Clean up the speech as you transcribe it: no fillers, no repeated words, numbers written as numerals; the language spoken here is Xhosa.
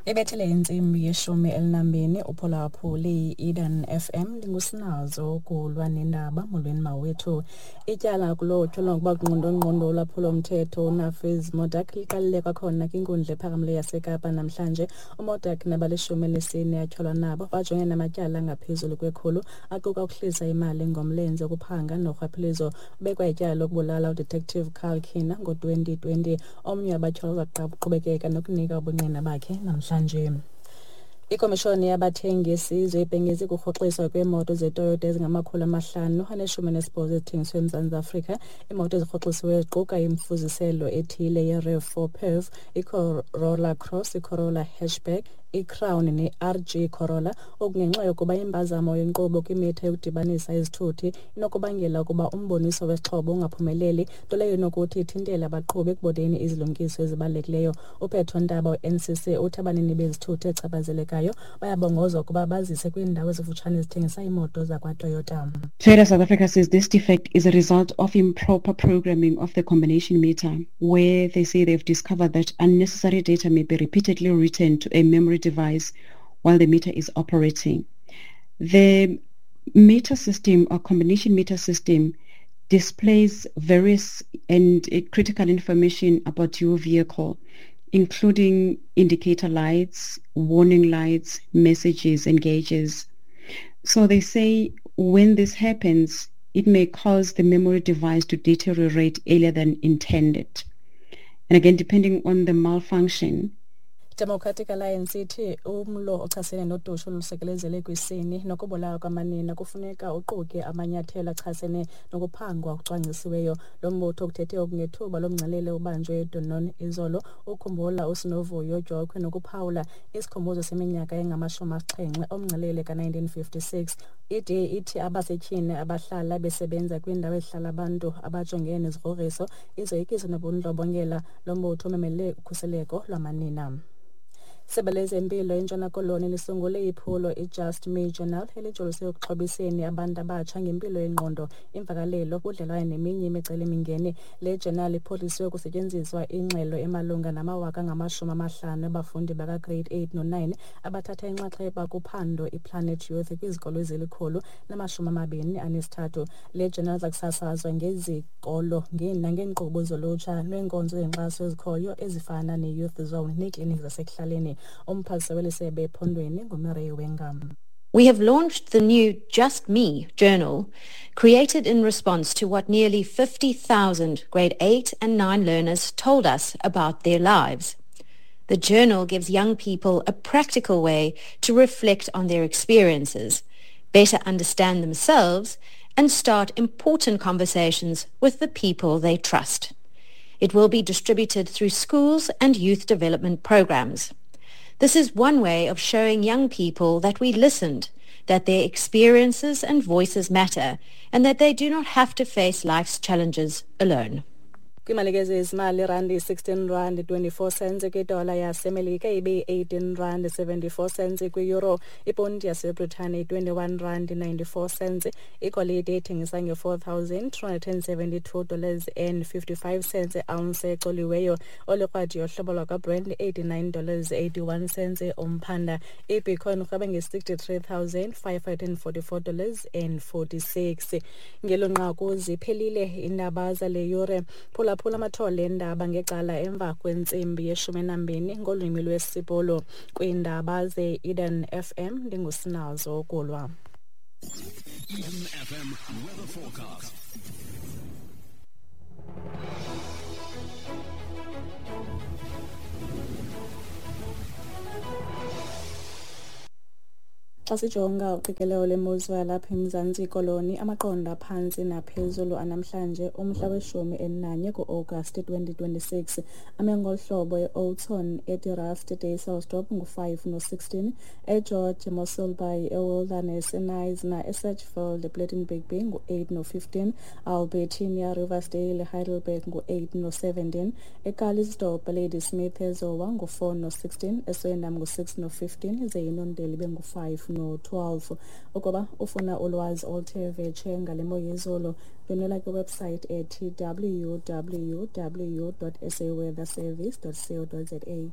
Ibethele intsimbi ye-12 uphulaphuli i-Eden FM. Ndingusinazo ukulwa nendaba. Molweni mawethu. Ityala kulo tyholwa ngokuba ngqondongqondo ulwaphulomthetho uNafiz Modak liqalile kwakhona kwinkundla ephakamileyo yaseKapa namhlanje. UModak nabalishumi elinesine atyholwa nabo bajongene namatyala angaphezulu kwe-100, aquka ukuhlisa imali ngomlenze, ukuphanga norhwaphilizo. Ubekwa ityala lokubulala uDetective Carl Kina ngo-2020. Omnye wabatyholwa uza kuqhubekeka nokunika ubungqina bakhe namhlanje. Ikomishoni yabathengi yesizwe ibhengeze ukurhoxiswa kweemoto zeToyota ezingama-518 ezithengiswe eMzantsi Afrika. Iimoto ezirhoxisiweyo ziquka imifuziselo ethile ye-RAV4 PHEV, iCorolla Cross, iCorolla Hatchback, iCrown ne-RG Corolla. Oku ngenxa yokuba impazamo yenkqubo kwimitha yokudibanisa izithuthi inokubangela ukuba umboniso wesixhobo ungaphumeleli, nto leyo inokuthi ithintele abaqhubi ekuboneni izilumkiso ezibalulekileyo. UPetro Ntaba we-NCC uthi abanini bezithuthi ezichaphazelekayo bayabongozwa ukuba bazise kwiindawo ezikufutshane ezithengisa iimoto zakwaToyota. Toyota South Africa says this defect is a result of improper programming of the combination meter, where they say they've discovered that unnecessary data may be repeatedly written to a memory device while the meter is operating. The meter system or combination meter system displays various and critical information about your vehicle, including indicator lights, warning lights, messages and gauges. So they say when this happens, it may cause the memory device to deteriorate earlier than intended. And again, depending on the malfunction, Democratic Alliance ithi umlo ochasene nodushe olusekelezele kwisini nokubulawa kwamanina kufuneka uquke amanyathelo achasene nokuphangwa okucwangcisiweyo. Lo mbutho ukuthethe oku ngethuba lomngcelele ubanjwe eDunoon izolo ukhumbula uSinovuyo Dyokhwe nokuphawula isikhumbuzo seminyaka engama-70 omngcelele ka-1956. I-DA ithi abasetyhini abahlala besebenza kwiindawo ezihlala abantu abajongene nezigrogriso, izoyikiso nobundlobongela. Lo mbutho umemelele ukhuseleko lwamanina. Isebe lezempilo eNtshona Koloni lisungule iphulo iJust Me Journal elijolise ekuxhobiseni abantu abatsha ngempilo yengqondo, imvakalelo, ubudlelwane neminye imicelimingeni. Le journal iphuhliswe kusetyenziswa ingxelo emalunga namawaka angama-50 abafundi bakaGrade 8 no-9 abathatha inxaxheba kuphando iPlanet Youth kwizikolo ezili-123. Le journal iza kusasazwa ngezikolo nangeenkqubo zolutsha neenkonzo zenkxaso ezikhoyo ezifana ne-Youth Zone neekliniki zasekuhlaleni. Umphathiswa weli sebe ephondweni nguMireille Wengam. We have launched the new Just Me journal, created in response to what nearly 50,000 grade 8 and 9 learners told us about their lives. The journal gives young people a practical way to reflect on their experiences, better understand themselves, and start important conversations with the people they trust. It will be distributed through schools and youth development programs. This is one way of showing young people that we listened, that their experiences and voices matter, and that they do not have to face life's challenges alone. Kwimalike zezimali, irandi 16 rand 24 cents kwidola yaseMelika, ibe-18 rand 74 cents kwi-euro, iponti yaseBritane 21 rand 94 cents. Igolide ithengisa nge-$4,272 and 55 cents ounce ecoliweyo. Olikrwadi yohlobo lwakwaBrent $89 81 cents umphanda. Ibitcoin urhweba nge-$63,544 and 46. Ngelo nqaku ziphelile iindaba zale yure. Phulaphula amathole endaba ngecala emva kwentsimbi ye-12 ngolwimi lwesiPolo kwiindaba ze-Eden FM. Ndingusinazo Kulwa. Eden FM weather forecast. Xa sijonga uqikelelo lemozulu yalapha eMzantsi Koloni, amaqondo aphantsi naphezulu anamhlanje umhla we-11 kuAgasti 2026 ame ngolu hlobo: eOudtshoorn, eDe-Rust, Dysselsdorp ngu-5 no-16, eGeorge, Mossel Bay, eWilderness, eKnysna, eSedgefield, ePlettenberg Bay ngu-8 no-15, Albertinia, Riversdale, Heidelberg ngu-8 no-17, eCalitzdorp, Ladysmith, eZowa ngu-4 no-16, eSwellendam ngu-6 no-15, ze iNondeli ibe ngu-5 no-12. Ukuba ufuna ulwazi oluthe vetshe ngale mo yezulu, ndwendwela kwiwebsite ethi www.saweatherservice.co.za.